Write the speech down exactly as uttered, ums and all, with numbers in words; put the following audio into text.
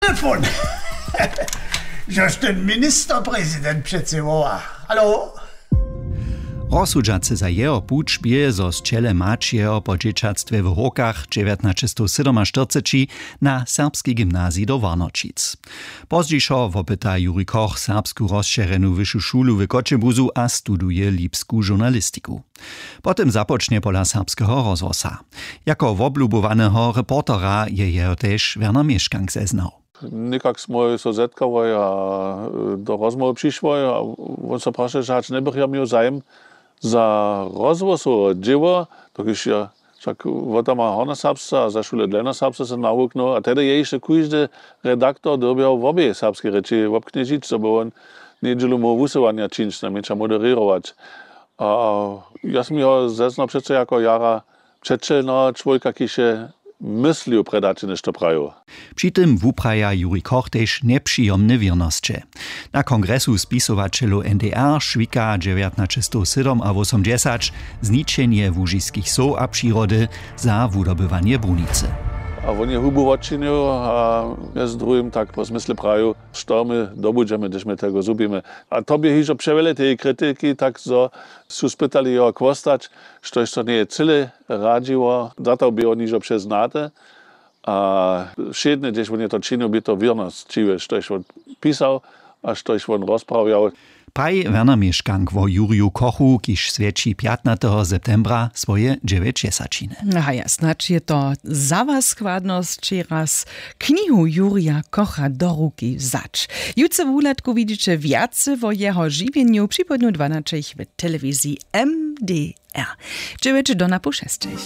Telefon. Žož ten ministerprezident přeci woła. Halo? Rozsudźace za jeho puć bě, zo sćele mać jeho po dźěćatstwje w hórkach dźewjatnaćestowsydomaštyrceći na serbski gymnazij do warnoćic. Pozdźišo wopyta juri koch serbsku rozšěrjenu wyšu šulu w choćebuzu a studuje lipsku žurnalistiku. Potom započnje pola serbskeho rozhłosa. Jako woblubowaneho reportera je jeho tež werner měškank zeznał. Někak smój so zetkałoj a do rozmołwy přišłoj a wón so prašeł hač njebych ja měł zajim za rozhłosowe dźěło, dokelž ja wšak wotama hornjoserbsce a za šule dlenoserbsce so nawuknył a tehdy je hišće kóždy redaktor dyrbjał wobě serbske rěči wobknježić zo by wón njedźelu móhł wusyłanja čińć najmjenša moderěrować. A ja sym jeho zeznał přeco jako jara přećelneho čłowjeka kiž je myslił prjedy hač něšto prajił. Při tym wupraja juri koch tež njepřijomne wěrnosće. Na kongresu spisowaćelow ndr šwika dźewjatnaćestowsydomawosomdźesać zničenje łužiskich sow a přirody za wudobywanje brunicy. A wón je hubu wotčinił a mjez druhim tak po zmysle prajił, što my dobudźemy hdyž my tego zhubimy. A to bě hižo přewjele teje kritiki tak zo su spytali jeho chłostać, štož to njeje cyle radźiło za to bě wón hižo přeznate. A wšědnje hdźež wón je to činił bě to wěrnosć čiły štož wón pisał a štož wón rozprawjał. Praji werner měškank wo jurju kochu kiž swjeći pjatnateho septembra swoje dźewjećdźesaćiny. Haja, snadź je to za was składnosć raz knihu jurja kocha do ruki wzać. Jutře w wuhladku widźiće wjace wo jeho žiwjenju připołdnju dwanaćich w telewiziji mdr. Dźewjeće do na poł šestych.